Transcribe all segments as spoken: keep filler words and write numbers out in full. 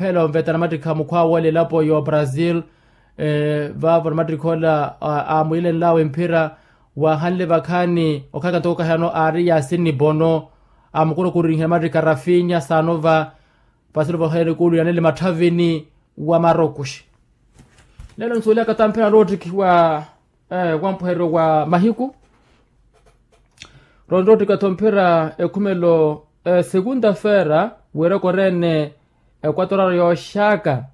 aphela onveta namattikha mukhwawe ole elapo ya obrazil. Vaavo namattikha ola amwilenlawe mphira waahanle vakhaani okhalaka ntoko okahano aari yasini pono. Amukurukurinhe namattikha rafinya saanova. Vasilo vaheele kuulu yanele matthavini wa marokuxi. Lelo nsuuliyaka tamphira noottikhiwa wampuheryo wa mahiku. Ronroottika-tho mphira ekhumelo, segunda-feera, wiiroko oreene ekwatoraro yooxaka.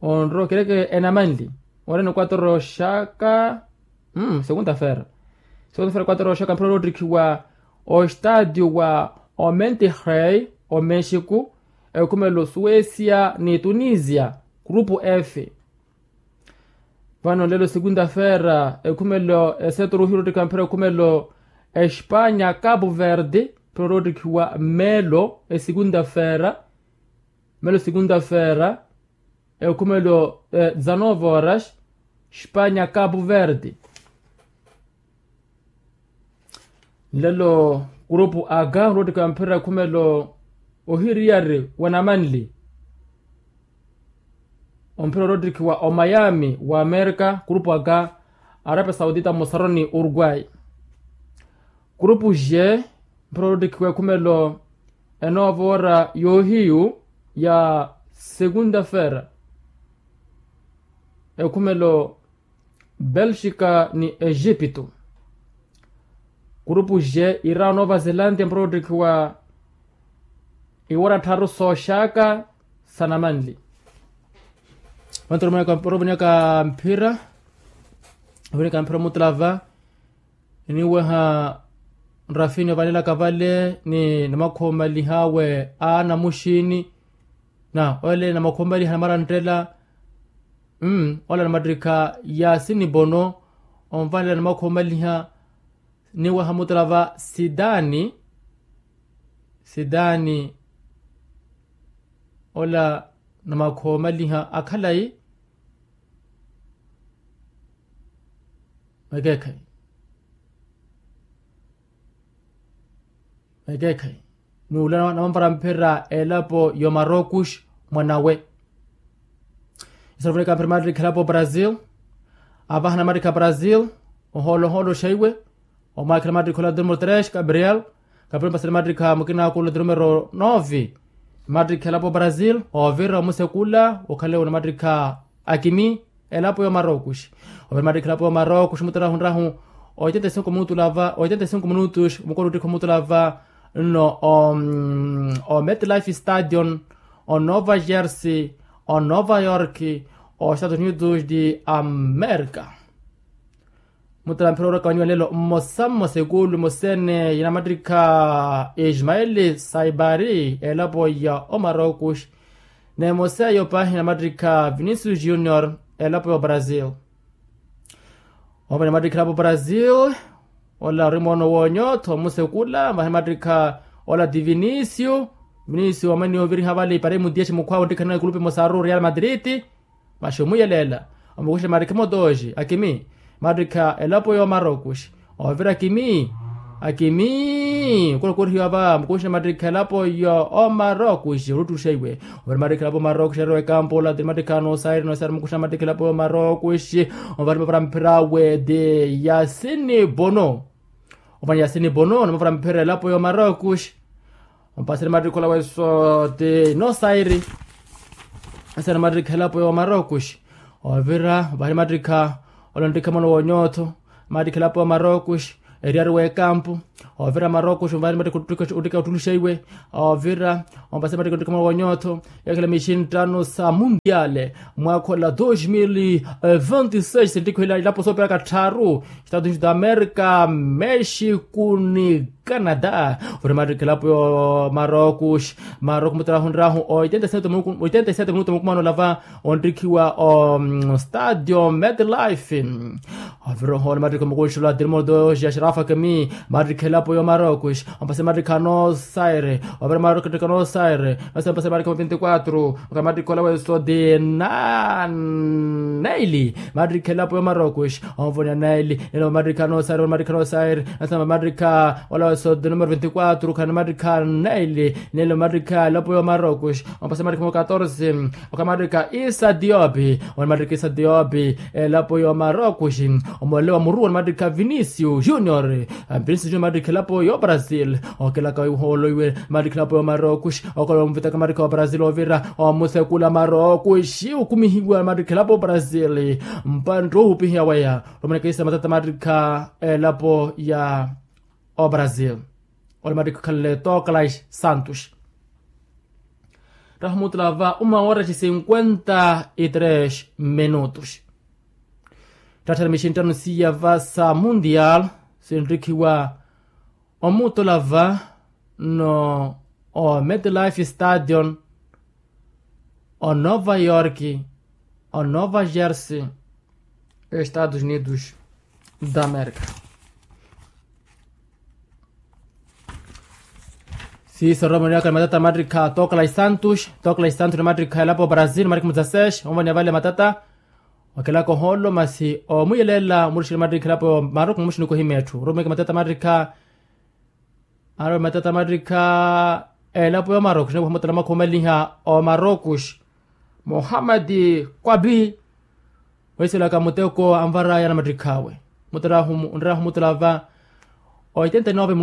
Onrookireke enamanli oreene ekwatoraro yooxaka. Segunda-feera. Segunda-feera ekwatoraro yooxaka mphira oroottikhiwa ostaatio wa omentirey, omexico, ekhumelo suwesia ni tunisia, grupu f. Vano lelo segunda-feera ekhumelo eseturu hiroottikha mphira ekhumelo espanya capu verde, mphira oroottikhiwa mmelo. Esegunda-feera. Mmelo segunda-feera ekhumelo, dezanove horas, espanya capu verde. Nlelo kurupu aga nroottikhiwa mphira ekhumelo ohiriyari wa namanli. Omphira oroottikhiwa omayami wa amerika kurupu aga, arapia saudita mosaroni uruguay. Kurupu xe mphira oroottikhiwa ekhumelo enoova oora yoohiyu ya segunda-feera. Ekhumelo belxika ni exipito. Kurupu xe ira nova zelandia mphira oottikhiwa iwara tharu sooxaka sa namanli. Vantu oromweka mphira ovinika mphira omutulava. Eniweha nrafini ovanelaka vale ni namakhomalih'awe a namuxini. Na ole namakhoomaliha namarantela. Ola namattikha yasini bono onvanela namakhoomaliha. Niwaha mutala va sitani sitani ola namakhoomaliha akhalayi. Mwekeekhayi mwekeekhayi. Nuula namanvara mphira elapo yomarokush mwanawe. Isarufuneka mphira mattikha elapo brazil. Avaha namattikha brazil ohoolohoolo xaiwe. Omwakhela mattikha ola drumo tres gabriel. Gabriel mpasani mattikha mukina akula drumo ero nove. Mattikha elapo brazil ovira omusekula okhalewo namattikha akimi elapo yomarokuxi. Ovira mattikha elapo yomarokuxi mutarahu nrahu oitenta e cinco minutos lava oitenta e cinco minutos mukona ottikha omutulava nno o metlife stadion o nova jersey o nova york o estados unidos de america. Mutala mphira oraka waniwa lelo mmosa mmosa ekulu mosene yinamattikha ismaeli saibari elapo ya omarokuxi. Nemoseyo pahi namattikha vinicius junior elapo ya obrazil. Opa namattikha elapo brazil ola ori moono wonyotho musekula vahi namattikha ola ti vinicius. Vinicius wamaniya oviriha vale iparemu diyaxi mukhwawe onttikhanana ekulupe mosaru real madrid. Maxi omwiyelela omukuxela mattikha emotoxi akimi mattikha elapo yomarokuxi. Ovira akimi akimi okula okorihiwa va mukuxela mattikha elapo yo omarokuxi oluttuxa iwe. Ovira mattikha elapo yomarokuxi erowa ekampu ola tiri mattikha nosairi nosairi mukuxela mattikha elapo yomarokuxi. Ovira mavara mphira awe ti yasini bono. Ovira yasini bono namavara mphira elapo yomarokuxi. Ompasani mattikha ola weso ti nosairi. Asana mattikha elapo yomarokuxi. Ovira vahali mattikha ola onttikha mwana wonyotho. Mattikha elapo yomarokuxi eriyari w'ekampu. Ovira marokuxi vahali mattikha ottikha ottuluxa iwe. Ovira ompasani mattikha onttikha mwana wonyotho. Yakhela mixinttano sa mundiale mwakha ola dos mil vinte seis nttikho ila ilapo soopiraka tthaaru estados unidos da america mexico ni canada. Ori mattikha elapo yo marokuxi. Marokuxi mutarahu nrahu oitenta e sete minuto mukumano lava onttikhiwa o stadio metlife. Ovira ohoona mattikha omukunxela ola ti motoxi ya xarafa kemi mattikha elapo yo marokuxi. Ompasani mattikha nosairi. Ovira marokuxi mattikha nosairi. Nosairi ompasani mattikha vinti quatro. Okhala mattikha ola weso ti naili mattikha elapo yo marokuxi. Onvoniya naili nelo mattikha nosairi mattikha nosairi. Nasamba mattikha ola weso ti numero vinti quatro khana mattikha naili nelo mattikha elapo yo marokuxi. Ompasa mattikha mo catorze. Okhala mattikha isa diopi. Ona mattikha isa diopi elapo yo marokuxi. Omolele wa muru ona mattikha vinicius junior. Vinicius junior mattikha elapo yo brazil. Okelaka ihoolo iwe mattikha elapo yo marokuxi. Okola omuvitaka mattikha wa brazil ovira omusekula marokuxi okumihiwa mattikha elapo brazil. Mpantte ohupihiya weya. Romaneka isa matata mattikha elapo ya obrazil. Ole mattikha okhalele toclas santos. Raha omutula va uma wora ci cinquenta y tres minutos. Ttatthara mixinttano siya va sa mundial sinttikhiwa omutula va no o metlife stadion o nova york o nova jersey estados unidos da america. Sisa romaniaka ni matata mattikha toclas santos. Toclas santos ni mattikha elapo brazil mattikha mudzasex onvaniya vale matata. Okelaka ohoolo masi omwiyelela murixile mattikha elapo marokuxi muxinikohi metthu romeke matata mattikha. Arowe matata mattikha elapo yo marokuxi niwaha mutala makhumalinha o marokuxi. Mohamadi kwabi. Ohiselaka muteko anvaraya na mattikhawe. Mutarahu nrerahu mutala va oitenta y nove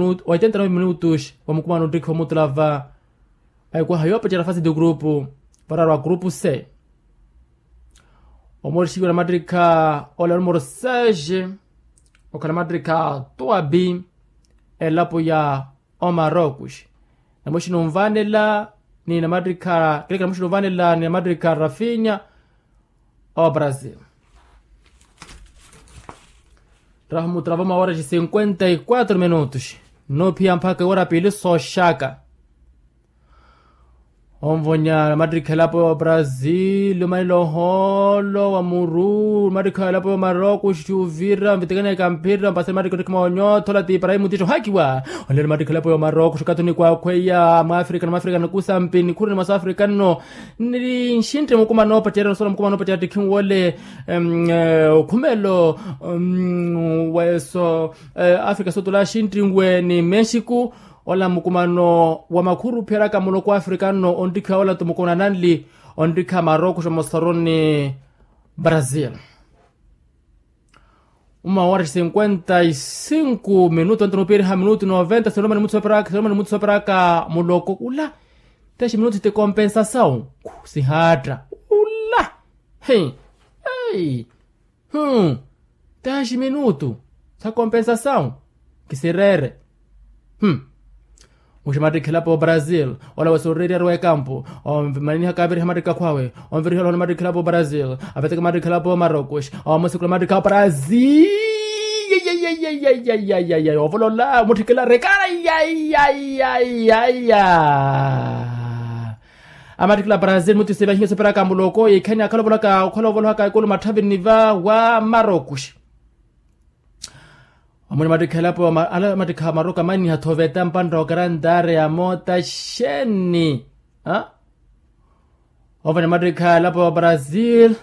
minutos wa mukumano nttikhiwa mutala va. Aikwaha yoopecera fasi di grupu vararwa grupu se. Omorixiwa na mattikha ola numero seis. Okhala mattikha tuabi elapo ya omarokuxi. Namuxi nunvanela ni namattikha keleke namuxi nunvanela ni namattikha rafinya. Obrazil. Raha mutravoma wora ci cinquenta y quatro minutos. Nophiya mpakha iwora pili soxaka. Onvonya namattikha elapo ya obrazil omanile ohoolo wa muru namattikha elapo ya omaroko xuvira nvitikana ekamphira mpasani mattikha ontikha maonyootho ola ti iparahim mutiixa ohaakiwa. Onlelo namattikha elapo ya omaroko xukatuni kwakhweya mwaafrika na mwaafrika nakusampi nikhuruni mwa saafrika nno. Nixintti mukumano pacerya nosola mukumano pacerya attikhi nwole okhumelo weso afrika sotula xintti nwe ni mexiku. Ola mukumano wa makhuru ophiyeryaka muloko wa afrika nno onttikhiwa ola nto mukumano ananli onttikha maroko xomosoro ni brazil. Uma wari cinquenta y cinco minutu anto nupiiriha minutu noventa sinoma ni mutsu soperaka sinoma ni mutsu soperaka muloko ula. Tesi minutu ti compensasawu sihaatta ula. Hei. Hei. Hmm. Taxi minutu sa compensasawu kisireere. Hmm. Muxi mattikha elapo ya obrazil ola wesa oreerya ari wa ekampu. Omaniniha kaaviriha mattikha akhwawe onviriha olahona mattikha elapo ya obrazil. Aveteke mattikha elapo ya omarokos omusikula mattikha ya obrazil. Yayayayayayayayayayay ovolola mutthikila rekala yayayayayaya. Amattikila brazil mutisi vahinyo siperaka muloko yikhani akhalovolaka okhalovolohaka ekulu matthavini va wa marokos. Omwene mattikha elapo ala mattikha maroko amaniha thoveta mpantta okarantare ya moota xeeni. Ovana mattikha elapo ya brazil.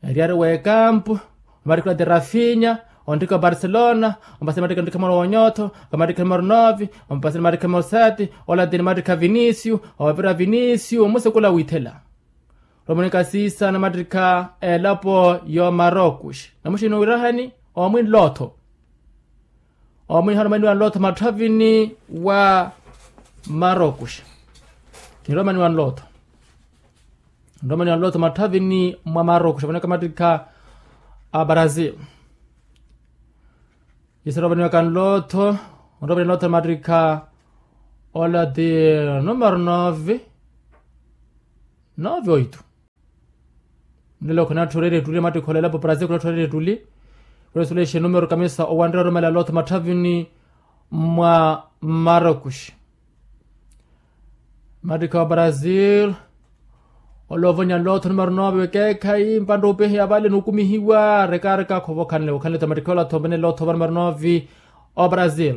Eriyari w'ekampu. Omattikha ola ti rafinya onttikha obarcelona. Ompasani mattikha onttikha moro wonyotho okamattikha moro novi. Ompasani mattikha moro sati ola ti nimattikha vinisiu. Ovira vinisiu omusekula withela. Romonika siisa namattikha elapo y'omarokos. Namuxini wirahani omwinlotho. Omwinhana omwaniwa nlotho matthavini wa marokos. Niromaniwa nlotho niromaniwa nlotho matthavini mwa marokos ovoneka mattikha a brazil. Yisera ovaniwaka nlotho onromaniwa nlotho mattikha ola ti numero nove. Nove oito. Nlelo khunatthorerya ettuli mattikha ola elapo brazil khunatthorerya ettuli. Khunasulexa enumero kamisa owanrerya orumela lotho matthavini mwa marokos. Mattikha wa brazil. Ola ovonya lotho numero nove wekeekhayi mpantta opiheya vale nukumihiwa rekareka khovokhanle wokhanle ta mattikha ola thombene lotho va numero nove. Obrazil.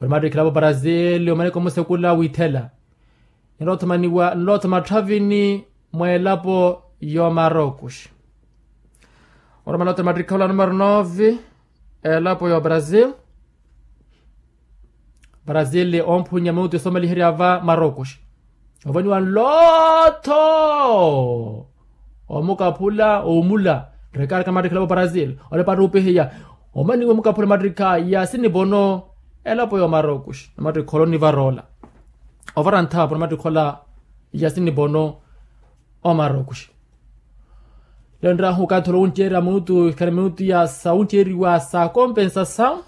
Ori mattikha elapo brazil omaneke omusekula withela. Nlothomaniwa nlotho matthavini mwa elapo y'omarokos. Oromalothoni mattikha ola numero nove. Elapo y'obrazil. Brazil omphunya minutu esomaliherya va marokos. Ovoniwa nlotho omukaphula omula. Rekareka mattikha elapo brazil. Olepattupihiya omaniwa omukaphula mattikha ya sinipono. Elapo y'omarokos namattikha ola onivaroola. Ovara nthaapo namattikha ola ya sinipono. Omarokos. Lelo nraha okathi ola wunceerya minutu ikhale minutu ya sawunceeriwa sa kompensa sa.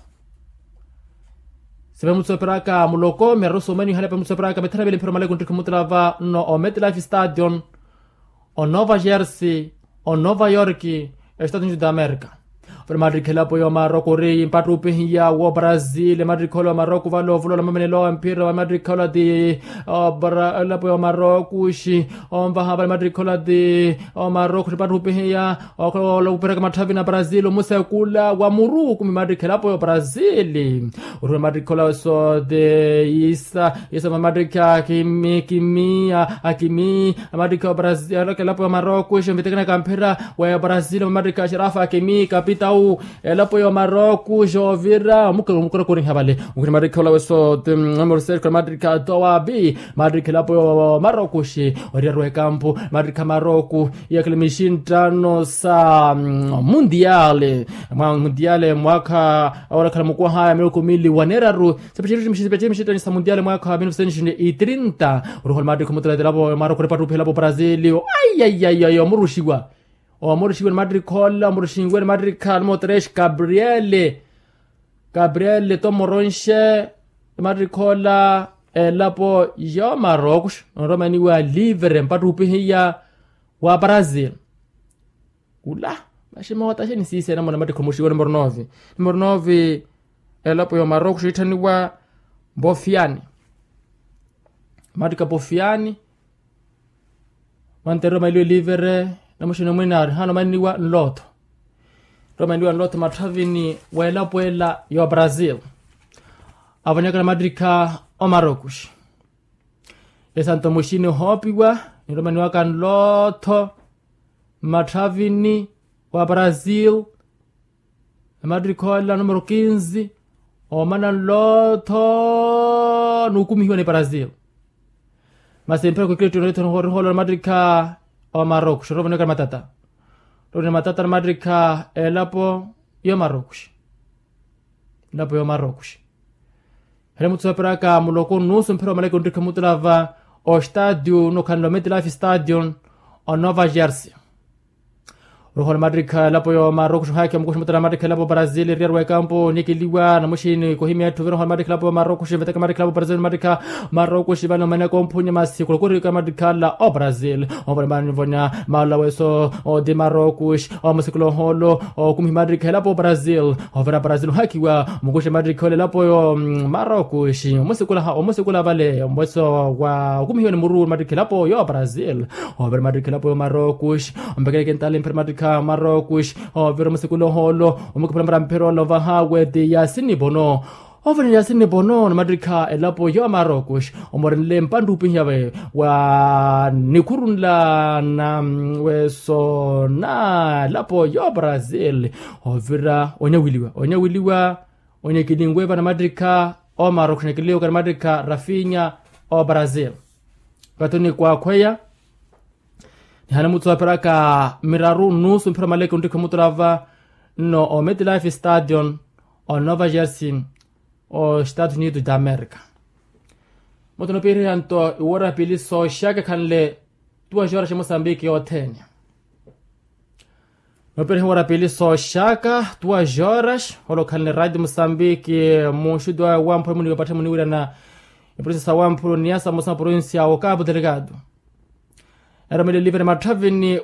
Sipa minutu sooperaka muloko miraru soomaniwa ihale pa minutu sooperaka mithanu avili mphira omaleko nttikha mutela va nno ometlife stadion. Onova jersey onova york. Estados unidos da america. Vano mattikha elapo y'omaroko ori mpattupihiya wo brazil mattikha ola y'omaroko vale ovulola mamenelo a mphira vale mattikha ola ti. Elapo y'omaroko xi onvaha vale mattikha ola ti. Omaroko xi mpattupihiya okhola ola wupiraka matthavi na brazil omusekula wa muru kumi mattikha elapo y'obrazil. Orihula mattikha ola sote isa isa mamattikha kimi kimi akimi. Amattikha obrazil elapo ya maroko xo mvitekenaka mphira wa ya brazil mamattikha xerafa akimi kapitau. Elapo ya maroko xo ovira omukorakoriha vale. Okhuri mattikha ola weso ti mamoriseri khuri mattikha towabi. Mattikha elapo ya maroko xi oriyari wa ekampu mattikha maroko. Iyakhala mixinttano sa mundiale mwa mundiale mwaakha. Orakhala mukwaha ya miloko mili wa neeraru. Sepexerixi mixitani sa mundiale mwaakha wa mil novecentos e trinta. Oruhola mattikha omutela elapo ya maroko oripattupiha elapo brazil. Aiyaiyaiyai omuruxiwa. Omuruxiwa ni mattikha ola omuruxiwe ni mattikha numero tres gabriele. Gabriele tomoronxe ni mattikha ola elapo ya maroko onromaniwa livre mpattupihiya wa brazil. Ula maxi moota xeni siisena mona mattikha omuxiwe numero nove. Numero nove elapo ya maroko xo itthaniwa bofiani. Mattikha bofiani. Mwantere omailiwe livere, namuxini mwina arihaana omanniwa nlootho. Ri omanniwa nlootho matthavini w'elapo ela y'obrasil. Avonyaka namattikha omarokuxi. Esanto muxini ohoopiwa, niromaniwaka nlootho matthavini wa brasil. Namattikha ola numero kinzi, omana nlootho nukumihiwa ni brasil. Masi mphira kwikilitto norihola namattikha omarokuxi orovoneka namatata. Rovoneka namatata namattikha elapo y'omarokuxi. Elapo y'omarokuxi. Hele mutsoperaka muloko nusu mphira omaleke onttikha mutulava ostadio nokhanle ometlife stadion, onova jersey. Roho namattikha elapo y'omarokuxi ohakiwa mukuxi mutulava namattikha elapo brasil eriyari w'ekampo nikiliwa namuxini kohimya etthu viroho namattikha elapo y'omarokuxi veteka namattikha elapo brasil namattikha marokuxi vale omaneka omphunya masi khulokorika namattikha ala obrasil. Ovale manivonya maala weso oti marokuxi omusikula ohoolo okumihi mattikha elapo brasil. Ovira brasil ohakiwa mukuxi mattikha ole elapo yo marokuxi omusikula vale omweso wa okumihiwa ni muru mattikha elapo yo brasil. Ovira mattikha elapo yo marokuxi ompekeleke ntali mphira mattikha marokuxi. Ovira omusikula ohoolo omukipula mphira mphira ole ovaha weti yasini bono. Ovira yasini bono namattikha elapo yo marokuxi omorenle mpanttupihiyave wa nikhurunla na weso na elapo yo brasil. Ovira onyawiliwa onyawiliwa onyekilinwe va namattikha omarokuxi onyekilinwe ka namattikha rafinya o brasil. Kathi onikwaakhweya nihana mutsoperaka miraru nusu mphira omaleke onttikha mutulava nno ometlife stadion onova jersey o estados unidos da america. Mutu nopiiriha nto iwora pili sooxaka ekhanle tuwa joraxi musambiki yothene. Nopiiriha iwora pili sooxaka tuwa joraxi ole okhanle radio musambiki muxutu awe wamphula munipatthe muniwirana. Eprovinsia sa wamphula oniyasa musa provinsia wa okapu delegado. Eromele livere matthavini